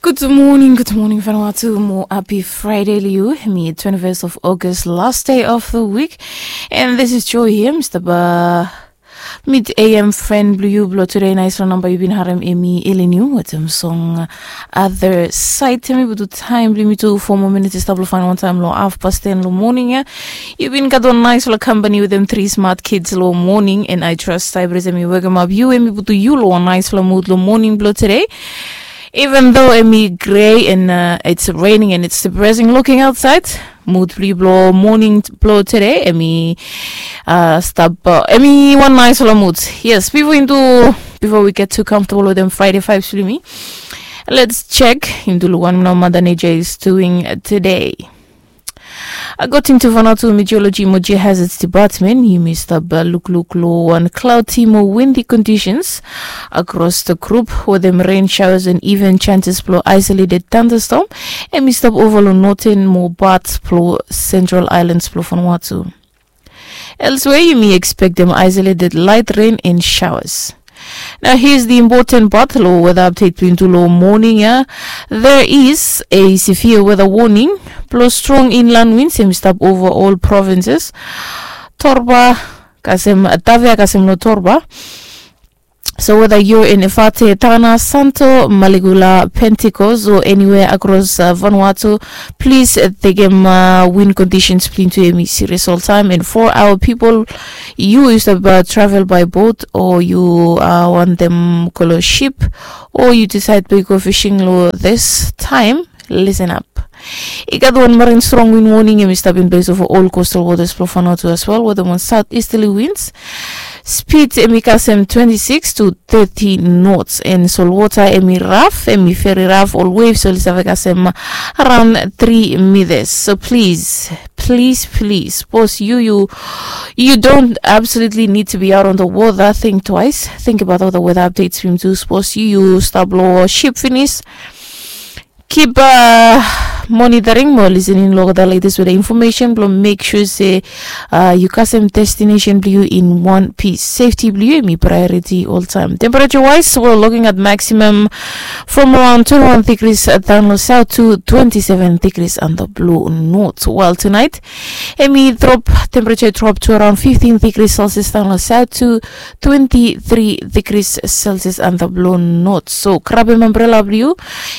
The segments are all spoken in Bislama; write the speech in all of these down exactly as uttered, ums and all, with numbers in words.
Gud moning, gud moning Vanuatu, mo hapi Fraede long yu. Hemi twenty-first of August, last day of the week. And this is Joy here, Mr. Ba. Mid A M friend blong yu blong tude, naispela namba yu bin harem, hemi Elin yu wetem song Other Side. Hemi putum taem blong yumi tu foa moa minits i stap long fainol taem long haf pas ten long moning ya. Yu bin gat wan naispela kampani wetem tri smat kids long moning, and I trust Cyprus hemi wekemap yu, hemi putum yu long wan naispela mud long moning blong tude. Even though hemi grey and uh, it's raining and it's depressing looking outside, mud blong yu blong moning blong tude hemi uh, stap uh, hemi wan naispela mud. Yes, bifo into, bifo we get too comfortable wetem Fraede vibes blong yumi, let's check into wan mada nature is doing today. According to Vanuatu Meteorology mo Geohazards Department, yumi stap lukluk long wan cloudy mo windy conditions across the group, wetem rain showers and even chances blong isolated thunderstorm. Hemi stap ova long northern mo parts blong central islands blong Vanuatu. Elsewhere, yumi expectem isolated light rain and showers. Now, here's the important part long weather update blong yumi tu long moning ya. There is a severe weather warning blong strong inland winds hemi stap ova ol provinces. Torba kasem, Tavea kasem long Torba. So whether you're in Efate, Tana, Santo, Maligula, Pentecost, or anywhere across uh, Vanuatu, please uh, tekem uh, wind conditions blong yumi tu hemi serious oltaem. And for our people, yu yu stap uh, travel by boat, o yu uh, wantem go long ship, o yu decide blong yu go fishing long this time, listen up. I gat wan marin strong wind warning hemi stap in place ova ol coastal waters blong Vanuatu as well, wetem wan southeasterly winds. Speed hemi kasem twenty-six to thirty knots, and solwota hemi raf, hemi very raf. Ol waves oli save kasem around three meters. So please, please, please, sapos yu, yu, you don't absolutely need to be out on the water, think twice. Think about all the weather updates from tu. Sapos yu, yu stap long ship finis, keep uh, monitoring mo listening long the latest weather information blong make sure se uh, yu kasem destination blong yu in one piece. Safety blong yu hemi priority oltaem. Temperature wise, we're looking at maximum from around twenty-one degrees uh, down south to twenty-seven degrees on the blue north. While tonight, hemi drop, temperature drop to around fifteen degrees Celsius down south to twenty-three degrees Celsius on the blue north. So grab an umbrella blong yu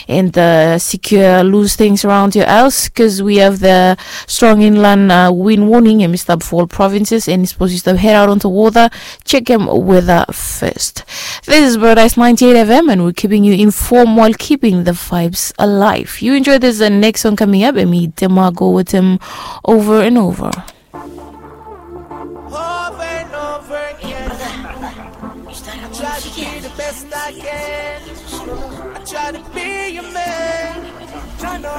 and uh, secure loose things around your house, because we have the strong inland uh, wind warning hemi stap for all provinces, and sapos yu stap head out onto water, check him weather first. This is Paradise ninety-eight F M, and we're keeping you informed while keeping the vibes alive. You enjoy this uh, next song coming up, and me Demago with him over and over. Over and over again. I try to be the best I can. I try to be your man. Try to